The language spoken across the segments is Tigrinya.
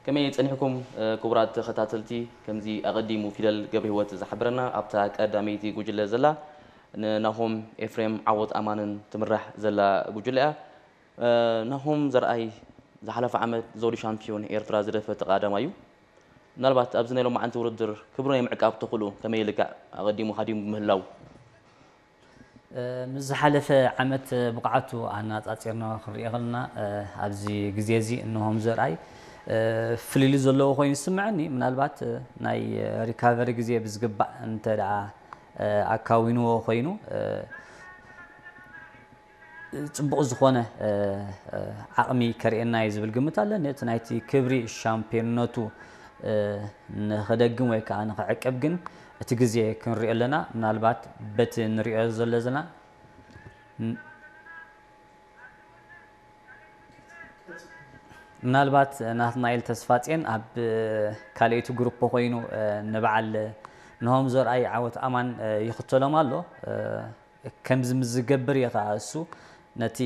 ከመይ ጸኒሕኩም ክቡራት ተኸታተልቲ? ከምዚ ኣቐዲሙ ፊደል ገብረህይወት ዝሓበረና ኣብታ ቀዳመይቲ ጉጅለ ዘላ ንናሆም ኤፍሬም ዓወት ኣማንን ትምራሕ ዘላ ጉጅለ እያ። ናሆም ዘርኣይ ዝሓለፈ ዓመት ዘውዲ ሻምፒዮን ኤርትራ ዝደፈ ተቓዳማይ እዩ። ምናልባት ኣብዚ ናይ ሎማዓንቲ ውድድር ክብሩ ናይ ምዕቃብ ተኽእሎ ከመይ ይልካዕ ኣቐዲሙ ሃዲሙ ብምህላው? ምስ ዝሓለፈ ዓመት ብቕዓቱ ኣነጻጺርና ክንሪኦ ከለና ኣብዚ ግዜ እዚ እንሆም ዘርኣይ ፍልልይ ዘለዎ ኮይኑ ይስምዐኒ። ምናልባት ናይ ሪካቨሪ ግዜ ብዝግባእ እንተ ደኣ ኣካዊንዎ ኮይኑ ፅቡቕ ዝኾነ ዓቕሚ ከርእየና እዩ ዝብል ግምት ኣለኒ። እቲ ናይቲ ክብሪ ሻምፒዮንነቱ ንኽደግም ወይ ከዓ ንኽዕቅብ ግን እቲ ግዜ ክንሪኦ ኣለና። ምናልባት በቲ ንሪኦ ዘለና ምናልባት ናትናኤል ተስፋጼን ኣብ ካልኣይቲ ግሩፕ ኮይኑ ንበዓል ንሆም ዘርኣይ ዓወት ኣማን ይኽተሎም ኣሎ። ከምዚ ምስ ዝገብር እየ ከዓ እሱ ነቲ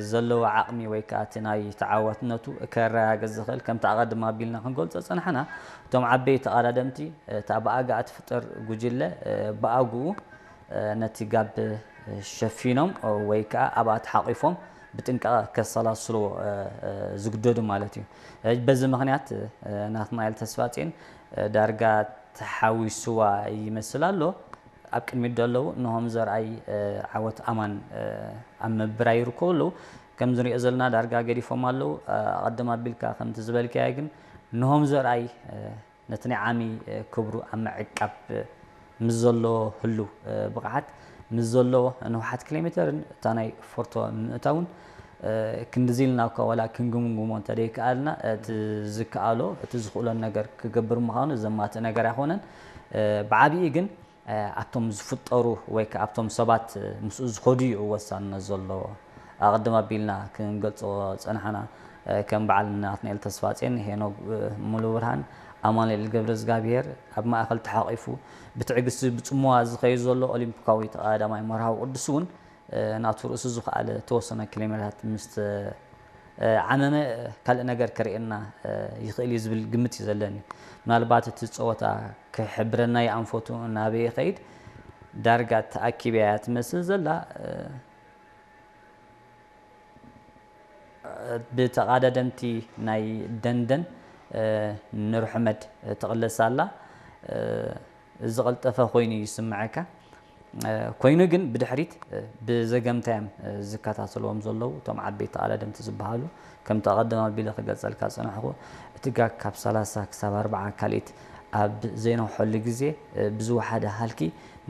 ዘለዎ ዓቕሚ ወይ ከዓ እቲ ናይ ተዓዋትነቱ ከረጋግፅ ዝኽእል። ከምቲ ኣቐድም ኣቢልና ክንገልፆ ዝፀናሕና እቶም ዓበይቲ ተቐዳደምቲ እታ ብኣጋ እትፍጠር ጉጅለ ብኣግኡ ነቲ ጋብ ሸፊኖም ወይ ከዓ ኣብኣ ተሓቒፎም ብጥንቃቐ ከሰላስልዎ ዝግደዱ ማለት እዩ። በዚ ምኽንያት ናትናኤል ተስፋጼን ዳርጋ ተሓዊስዋ ይመስል ኣሎ። ኣብ ቅድሚት ዘለዉ እንሆም ዘርኣይ ዓወት ኣማን ኣብ ምብራይ ይርከቡ ኣለዉ። ከም ዝሪኦ ዘለና ዳርጋ ገዲፎም ኣለዉ። ኣቐድም ኣቢልካ ከምቲ ዝበልካዮ ግን እንሆም ዘርኣይ ነቲ ናይ ዓሚ ክብሩ ኣብ ምዕቃብ ምስ ዘሎ ህሉ ብቕዓት ምስ ዘሎ ንውሓት ኪሎ ሜተርን እታ ናይ ፎርቶ ምእታውን ክንድዚ ኢልና እኳ ዋላ ክንግምግሞ እንተደይከኣልና እቲ ዝከኣሎ እቲ ዝኽእሎን ነገር ክገብር ምዃኑ ዘማትእ ነገር ኣይኮነን። ብዓብዪ ግን ኣብቶም ዝፍጠሩ ወይ ከዓ ኣብቶም ሰባት ምስኡ ዝኸዱ እዩ ወሳንነት ዘለዎ። ኣቐድም ኣቢልና ክንገልፆ ፀናሕና ከም በዓል ናትናኤል ተስፋጼን፣ ሄኖክ ሙሉብርሃን፣ ኣማኑኤል ገብረዝጋብሄር ኣብ ማእኸል ተሓቒፉ ብትዕግስቲ ብፅሞዋ ዝኸይድ ዘሎ ኦሊምፒካዊ ተቐዳዳማይ መርሃዊ ቅዱስ እውን ናቱ ርእሱ ዝኸኣለ ተወሰነ ኪሎ ሜትራት ምስ ዓመመ ካልእ ነገር ከርእየና ይኽእል እዩ ዝብል ግምት እዩ ዘለኒ። ምናልባት እቲ ፀወታ ክሕብረና ይኣንፈቱ ናበይ ይኸይድ ዳርጋ ተኣኪበ እያ ትመስል ዘላ። ብተቓዳደምቲ ናይ ደንደን ኑርሕመድ ትቕለስ ኣላ። ዝቐልጠፈ ኮይኑ ይስምዐካ። ኮይኑ ግን ብድሕሪት ብዘገምታ እዮም ዝከታተልዎም ዘለዉ እቶም ዓበይቲ ተቓዳደምቲ ዝበሃሉ። ከምቲ ኣቐድም ኣቢለ ክገልጸልካ ዝጸናሕኩ እቲ ጋግ ካብ ሰላሳ ክሳብ ኣርብዓ ካልኢት ኣብ ዘይነውሐሉ ግዜ ብዝወሓደ ሃልኪ